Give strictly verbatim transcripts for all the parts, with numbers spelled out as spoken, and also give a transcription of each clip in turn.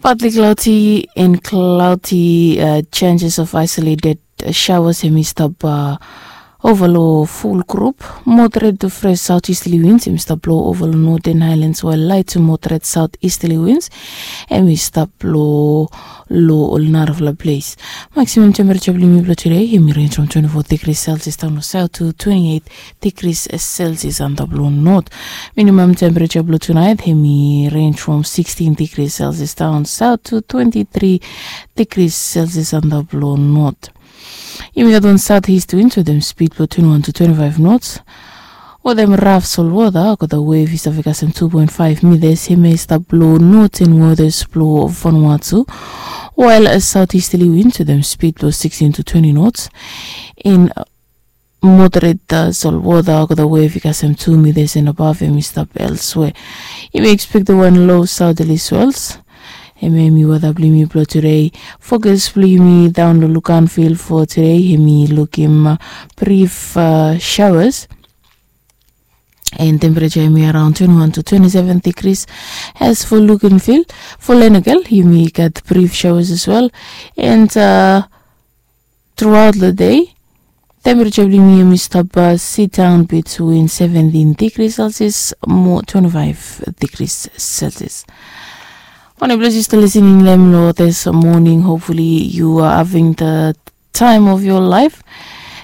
Partly cloudy and cloudy, uh, chances of isolated showers hem i stap, uh, ova long full group. Moderate to fresh southeasterly winds hem i stap blo ova long Northern Highlands, while light to moderate southeasterly winds hem i stap blo long ol narafala ples. Maximum temperature blong yumi blong today hem i range from twenty-four degrees Celsius down to south to twenty-eight degrees Celsius antap long north. Minimum temperature blong tonight hem i range from sixteen degrees Celsius down south to twenty-three degrees Celsius antap long north. Yumi gat wan southeast winds wetem speed blong twenty-one to twenty-five knots. Wetem raf solwota, gota wave i stap i kasem two point five meters, hem i stap long northern waters blong Vanuatu. While southeasterly winds wetem speed blong sixteen to twenty knots. In moderate, uh, solwota, gota wave i kasem two meters and above hem i stap elsewhere. Yumi expect wan low southerly swells. Hem hem i weta blong yumi blong today. Focus blong yumi down long Luganville for today hem i lukim, uh, brief, uh, showers. And temperature hem i around twenty-one to twenty-seven degrees. As for Luganville, for Lenakel yumi gat brief showers as well. And, uh, throughout the day, temperature blong yumi hem i stap, uh, sit down between seventeen degrees Celsius mo twenty-five degrees Celsius. Wanem ples yu stap listening long hem long this morning, hopefully you are having the time of your life.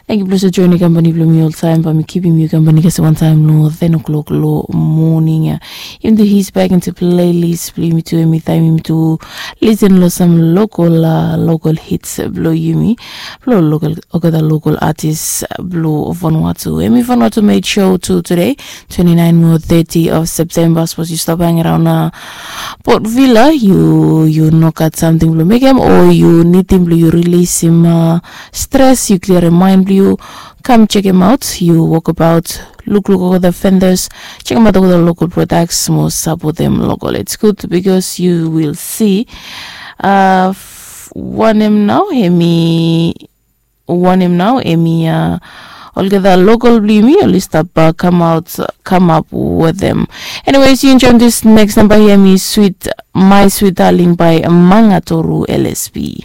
Thank you blong yu joining company blong mi oltaem, bae mi kipim yu company kasem wan taem long ten o'clock long morning ia. Yumi tu his back into playlist blong yumi tu, hem i taem yumi tu listen long sam local, uh, local hits blong yumi, blong local, olgeta local artist blong Vanuatu. Hem i Vanuatu made show tu today, twenty-nine mo thirty of September. Sapos yu stap hang around, uh, Port Vila, yu, yu no gat samting blong mekem o yu nidim blong yu rilisim, uh, stres, yu klirim maen blong yu, kam jekem aot, yu wokabaot, lukluk olgeta vendors, jekemaot olgeta local products mo sapotem local. It's good because you will see, uh, wanem nao hem i, wanem nao hem i, uh, olgeta local blong yumi oli stap, uh, kamaot, kamap wetem. Anyways, yu enjoem this next number ia, hem i Sweet, My Sweet Darling by Mangatoru L S B.